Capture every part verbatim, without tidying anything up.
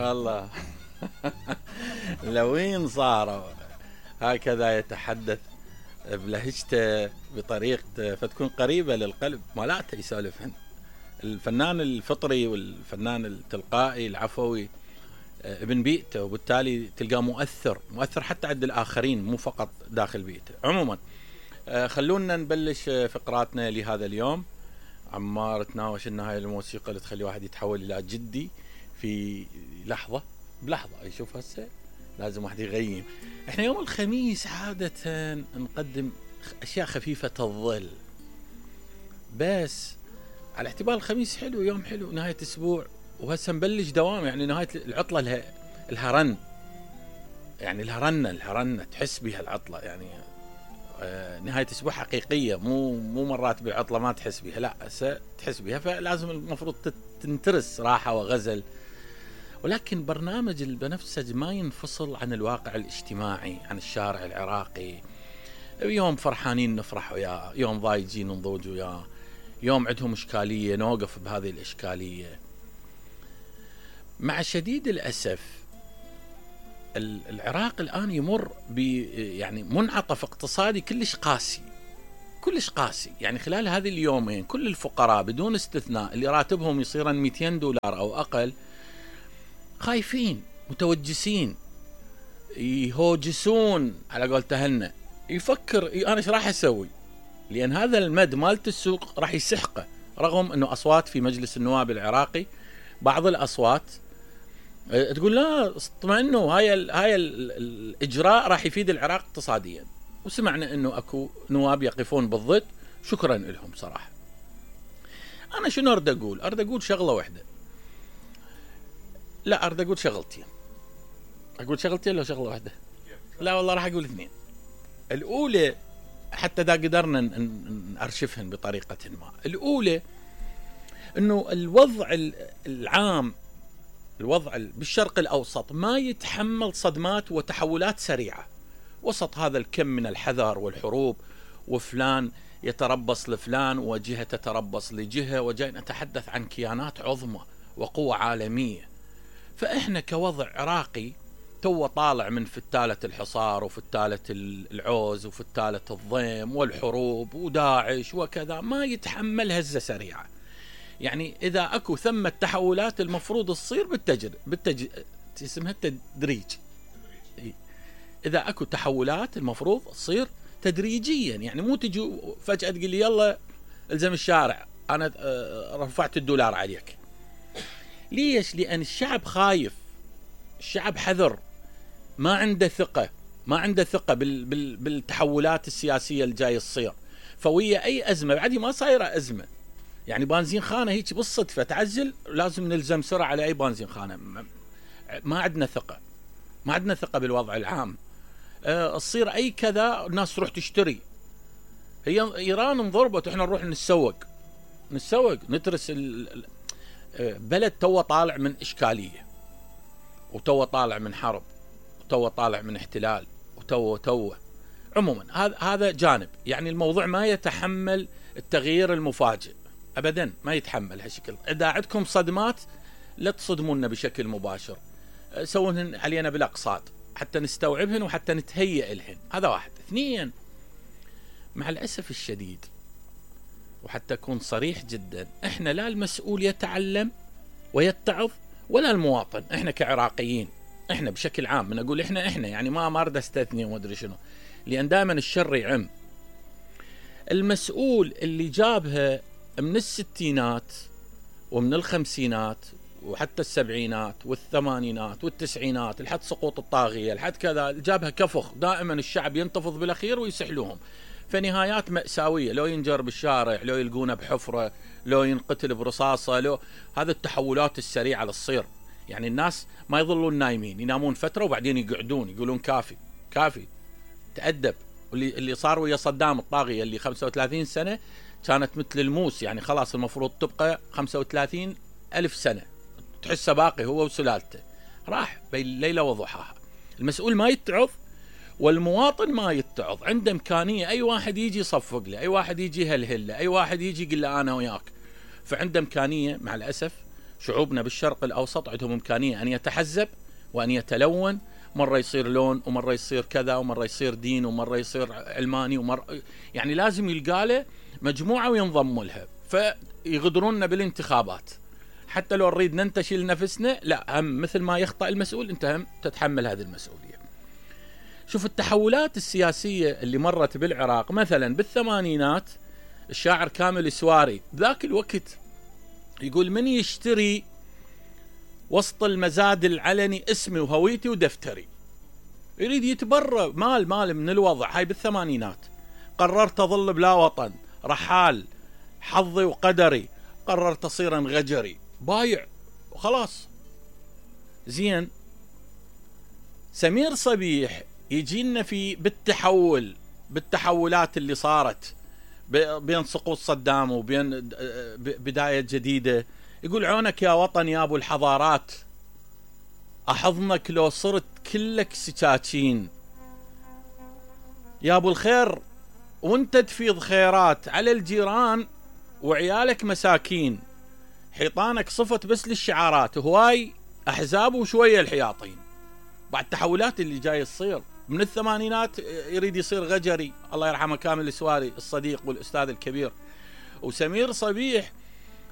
والله لوين صاروا هكذا يتحدث بلهجته بطريقته فتكون قريبة للقلب، مالاته يسولفهن. الفنان الفطري والفنان التلقائي العفوي ابن بيئته، وبالتالي تلقاه مؤثر مؤثر حتى عند الآخرين مو فقط داخل بيئته. عموما خلونا نبلش فقراتنا لهذا اليوم. عمار تناوش ان هاي الموسيقى اللي تخلي واحد يتحول الى جدي في لحظة بلحظة. يشوف هسه لازم واحد يغيم. احنا يوم الخميس عادة نقدم اشياء خفيفة الظل، بس على اعتبار الخميس حلو، يوم حلو، نهاية اسبوع، وهسه نبلش دوام، يعني نهاية العطلة لها الهرن، يعني الهرنة الهرنة تحس بها العطلة، يعني آه نهاية اسبوع حقيقية، مو مو مرات بالعطلة ما تحس بها، لا هسه تحس بها، فلازم المفروض تنترس راحة وغزل. ولكن برنامج البنفسج ما ينفصل عن الواقع الاجتماعي، عن الشارع العراقي. يوم فرحانين نفرح وياه، يوم ضايجين نضوج وياه، يوم عندهم إشكالية نوقف بهذه الإشكالية. مع شديد الأسف العراق الآن يمر ب يعني منعطف اقتصادي كلش قاسي، كلش قاسي. يعني خلال هذه اليومين كل الفقراء بدون استثناء اللي راتبهم يصيرن مئتين دولار أو أقل خايفين، متوجسين، يهوجسون على قول تهنا، يفكر انا ايش راح اسوي، لان هذا المد مالت السوق راح يسحقه. رغم انه اصوات في مجلس النواب العراقي، بعض الاصوات تقول لا اطمئنوا، هاي ال هاي ال الاجراء راح يفيد العراق اقتصاديا، وسمعنا انه اكو نواب يقفون بالضد، شكرا لهم صراحه. انا شنو اريد اقول؟ اريد اقول شغله واحده، لا اريد اقول شغلتين. اقول شغلتين لو شغله واحده؟ لا والله راح اقول اثنين. الاولى حتى اذا قدرنا نارشفهن بطريقه ما. الاولى انه الوضع العام، الوضع بالشرق الاوسط ما يتحمل صدمات وتحولات سريعه وسط هذا الكم من الحذر والحروب، وفلان يتربص لفلان وجهه تتربص لجهه، وجاي نتحدث عن كيانات عظمى وقوة عالمية. فإحنا كوضع عراقي تو طالع من فتالة الحصار وفتالة العوز وفتالة الضيم والحروب وداعش وكذا، ما يتحمل هزة سريعة. يعني إذا أكو ثم التحولات المفروض تصير بالتجر بالتج اسمها التدريج. إذا أكو تحولات المفروض تصير تدريجيا، يعني مو تجي فجأة تقول لي يلا الزم الشارع أنا رفعت الدولار عليك. ليش؟ لأن الشعب خايف، الشعب حذر، ما عنده ثقة، ما عنده ثقة بال بال بالتحولات السياسية اللي جاي تصير. فوية أي أزمة، بعد ما صايرة أزمة، يعني بنزين خانة هيك بالصدفة تعزل لازم نلزم سرعة على أي بنزين خانة. ما عندنا ثقة، ما عندنا ثقة بالوضع العام. أه تصير أي كذا الناس تروح تشتري. هي إيران انضربت، إحنا نروح نتسوق نتسوق نترس ال بلد تو طالع من إشكالية، وتو طالع من حرب، وتو طالع من احتلال، وتو تو عموما هذا هذا جانب. يعني الموضوع ما يتحمل التغيير المفاجئ أبدا، ما يتحمل هالشكل. إذا عندكم صدمات لا تصدمونا بشكل مباشر، سوونهن علينا بالأقساط حتى نستوعبهن وحتى نتهيئ لهن. هذا واحد. اثنين، مع الأسف الشديد وحتى أكون صريح جدا، إحنا لا المسؤول يتعلم ويتعظ ولا المواطن. إحنا كعراقيين، إحنا بشكل عام، من أقول إحنا إحنا يعني ما ما أريد أستثني وما أدري شنو، لأن دائما الشر يعم. المسؤول اللي جابها من الستينات ومن الخمسينات وحتى السبعينات والثمانينات والتسعينات لحد سقوط الطاغية لحد كذا، جابها كفخ، دائما الشعب ينتفض بالأخير ويسحلوهم، فنهايات مأساوية، لو ينجر بالشارع، لو يلقونه بحفرة، لو ينقتل برصاصة، لو هذا التحولات السريعة للصير. يعني الناس ما يظلون نايمين، ينامون فترة وبعدين يقعدون يقولون كافي كافي تأدب. واللي اللي صار ويا صدام الطاغية اللي خمسة وثلاثين سنة كانت مثل الموس، يعني خلاص المفروض تبقى خمسة وثلاثين ألف سنة، تحسه باقي هو وسلالته، راح بين ليلة وضحاها. المسؤول ما يتعظ والمواطن ما يتعظ. عنده إمكانية أي واحد يجي يصفق له، أي واحد يجي يهلهل له، أي واحد يجي يقول له أنا وياك، فعنده إمكانية مع الأسف شعوبنا بالشرق الأوسط عندهم إمكانية أن يتحزب وأن يتلون، مرة يصير لون ومرة يصير كذا ومرة يصير دين ومرة يصير علماني ومرة يعني لازم يلقى له مجموعة وينضم لها، فيغدروننا بالانتخابات. حتى لو نريد ننتشل نفسنا لا، هم مثل ما يخطأ المسؤول أنت هم تتحمل هذه المسؤولية. شوف التحولات السياسية اللي مرت بالعراق مثلا بالثمانينات، الشاعر كامل السواري ذاك الوقت يقول من يشتري وسط المزاد العلني اسمي وهويتي ودفتري، يريد يتبرى مال مال من الوضع. هاي بالثمانينات. قررت أظل بلا وطن، رحال، حظي وقدري، قررت أصير غجري، بايع وخلاص. زين، سمير صبيح يجينا في بالتحول بالتحولات اللي صارت بين سقوط صدام وبين بداية جديدة، يقول عونك يا وطن يا ابو الحضارات، احضنك لو صرت كلك سكاكين، يا ابو الخير وانت تفيض خيرات على الجيران وعيالك مساكين، حيطانك صفت بس للشعارات، هواي احزاب وشوية الحياطين. بعد التحولات اللي جاي تصير من الثمانينات يريد يصير غجري، الله يرحمه كامل السواري الصديق والاستاذ الكبير. وسمير صبيح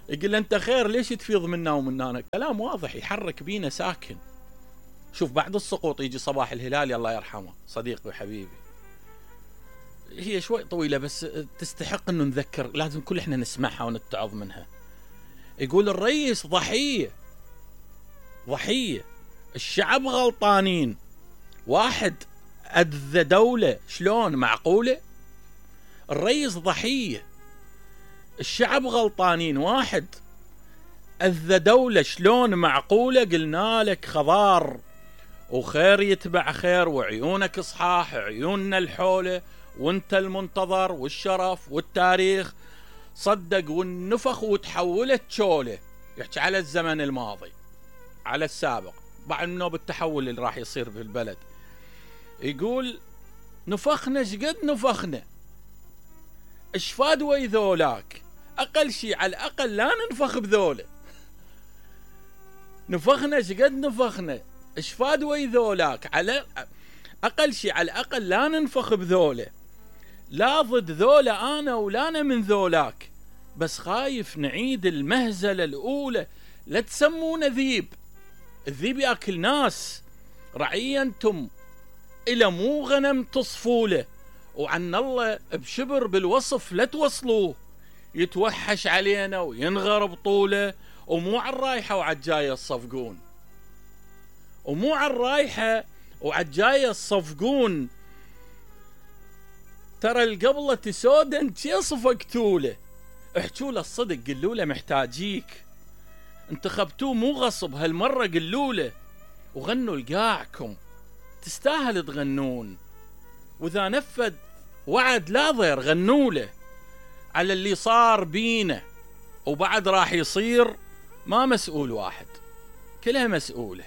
يقول انت خير ليش تفيض منا ومنانا، كلام واضح يحرك بينا ساكن. شوف بعد السقوط يجي صباح الهلالي الله يرحمه صديقي وحبيبي، هي شوي طويلة بس تستحق انه نذكر، لازم كل احنا نسمعها ونتعظ منها. يقول الرئيس ضحية ضحية، الشعب غلطانين، واحد أذى دولة، شلون معقولة؟ الرئيس ضحية، الشعب غلطانين، واحد أذى دولة، شلون معقولة؟ قلنا لك خضار وخير يتبع خير وعيونك صحاح، عيوننا الحولة وانت المنتظر والشرف والتاريخ صدق والنفخ وتحولت شولة. يحكي على الزمن الماضي على السابق بعد منه بالتحول اللي راح يصير في البلد. يقول نفخنا شقد نفخنا، اشفاد وي ذولاك، اقل شيء على الاقل لا ننفخ بذوله. نفخنا شقد نفخنا، اشفاد وي ذولاك، على اقل شيء على الاقل لا ننفخ بذوله، لا ضد ذولا انا ولا انا من ذولاك، بس خايف نعيد المهزله الاولى، لا تسمونا ذيب، الذيب ياكل ناس، رعية انتم الى مو غنم تصفوله، وعن الله بشبر بالوصف لا توصلوه، يتوحش علينا وينغر بطوله، ومو على الرايحه وعالجايه الصفقون، ومو على الرايحه وعالجايه الصفقون، ترى القبلة تسودن شي صفقتوله، احجوا له الصدق قلوا له محتاجيك، انتخبتوه مو غصب هالمره قلوا له، وغنوا لقاعكم تستاهل تغنون، واذا نفذ وعد لا ضير غنوا له على اللي صار بينا، وبعد راح يصير ما مسؤول واحد كلها مسؤوله.